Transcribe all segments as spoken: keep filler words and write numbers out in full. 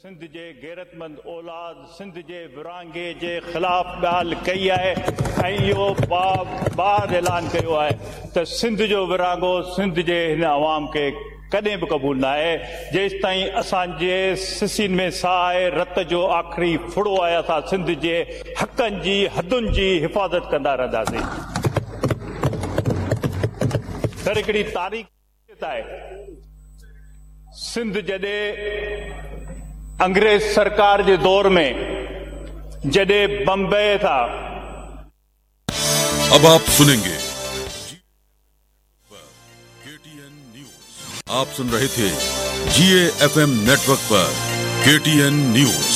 सिंध जे गैरतमंद औलाद सिंध जे विरहाङे जे ख़िलाफ़ ॻाल्हि कई आहे ऐं इहो बार ऐलान कयो आहे त सिंध जो विरहाङो सिंध जे हिन अवाम खे कॾहिं बि क़बूल न आहे। जेसि ताईं असांजे सिसिन में साह आहे, रत जो आख़िरी फुड़ो आहे, असां सिंध जे हक़नि जी हदुनि जी हिफ़ाज़त कंदा रहंदासीं। सर हिकिड़ी तारीख़ आहे, सिंध जॾहिं अंग्रेज सरकार जे दौर में जॾहिं बम्बई था। अब आप सुनेंगे केटीएन न्यूज। आप सुन रहे थे जीएफएम नेटवर्क पर KTN news.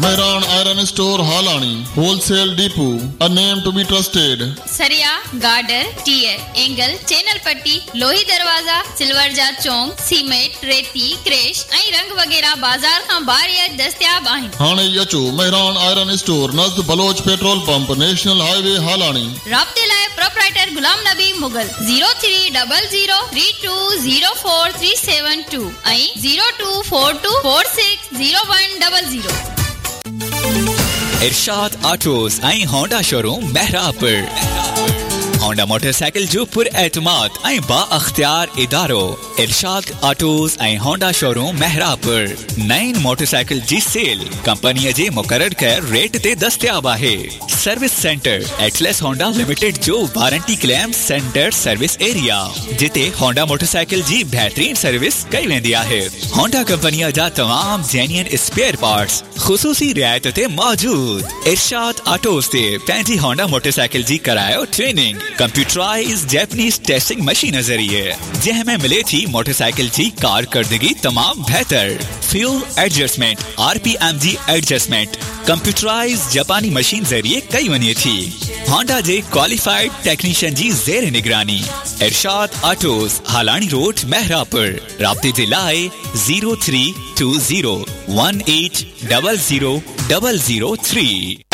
Mehran iron store Halani wholesale depot, a name to be trusted. सरिया, गार्डर, टीयर, एंगल, चैनल पट्टी, लोही दरवाजा, सिल्वर जा चौंक, सीमेंट, रेती, क्रेश ऐं रंग वगैरह बाज़ार खां बारिया दस्तियाब आहिनि। हाणे ई अचो मेहरान आयरन स्टोर, नज़द Baloch petrol pump, national highway, Halani. राब्ते लाइ proprietor Ghulam Nabi Mughal zero three double zero three two zero four three seven two ऐं zero two four two four six zero one double zero. Irshad autos ऐं Honda showroom मेहराबपुर। Honda motorcycle जो पुर एतमाद ऐं बा अख्तियार इदारो इरशाद autos ऐं होंडा शोरूम मेहराबपुर। नईं मोटरसाइकिल जी सेल कंपनीअ जे मुक़ररु कयल रेट ते दस्तियाब आहे। Service centre Atlas Honda limited जो warranty claim centre service area, जिते होंडा मोटरसाइकिल जी बहितरीन सर्विस कई वेंदी आहे। होंडा कंपनीअ जा तमाम जेन्युइन स्पेयर पार्ट्स ख़ुसूसी रिआयत ते मौजूद। इरशाद ऑटोस ते पंहिंजी होंडा मोटरसाइकिल जी करायो training computerise Japanese testing machine ज़रिए, जंहिं में मिले थी मोटरसाइकिल जी कारकर्दगी तमाम बेहतर। फ्यूल एडजस्टमेंट, आरपीएम जी एडजस्टमेंट कंप्यूटराइज जापानी मशीन ज़रिए कई वञे थी। होंडा जे क्वालिफाइड टेक्नीशियन जी ज़ेर निगरानी। इरशाद ऑटोस, हालानी रोड, मेहरापुर। राब्ते जे लाइ zero three two zero one eight double zero double zero three.